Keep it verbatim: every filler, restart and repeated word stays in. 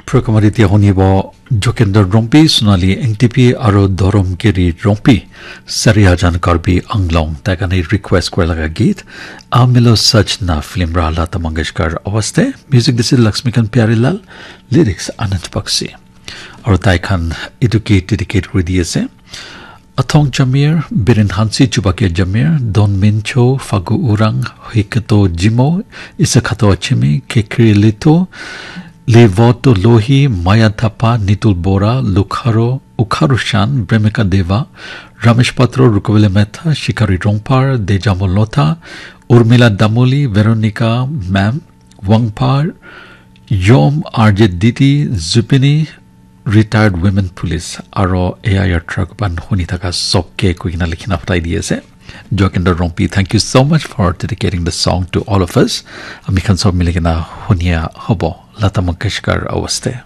Programme te honibo Jokender Rompi, Sonali Engtipi, aro Dhorom Keri Rompi, Sariajan Karbi Anglong, tai khan request kura laga git, Amilo Sach Na film ra Lata Mangeshkar awaste, music dise Laxmikant Pyarelal, lyrics Anand Bakshi. Aro tai khan etu git dedicate kuri di ase. Athong Jamir, Biren Hansi, Chubakia Jamir, Don Mincho, Fagu Urang, Hikato Jimo, Isakato Achimi, Kekri Lito, Levoto Lohi, Maya Thapa, Nitul Bora, Lukharo, Ukharu Shan, Bremika Deva, Ramesh Patro, Rukubele Mehta, Shikari Rongpar, Dejamo Lotha, Urmila Damuli, Veronica Mam, Wangpar, Yom, R J Diti, Zupini, retired women police, aro A I R truck ban huni thaka sob ke koi kena likhina pathai di ase. Jokender Rompi, thank you so much for dedicating the song to all of us. Ami khan sob mili kena hunia hobo. Lata Mangeshkar awaste.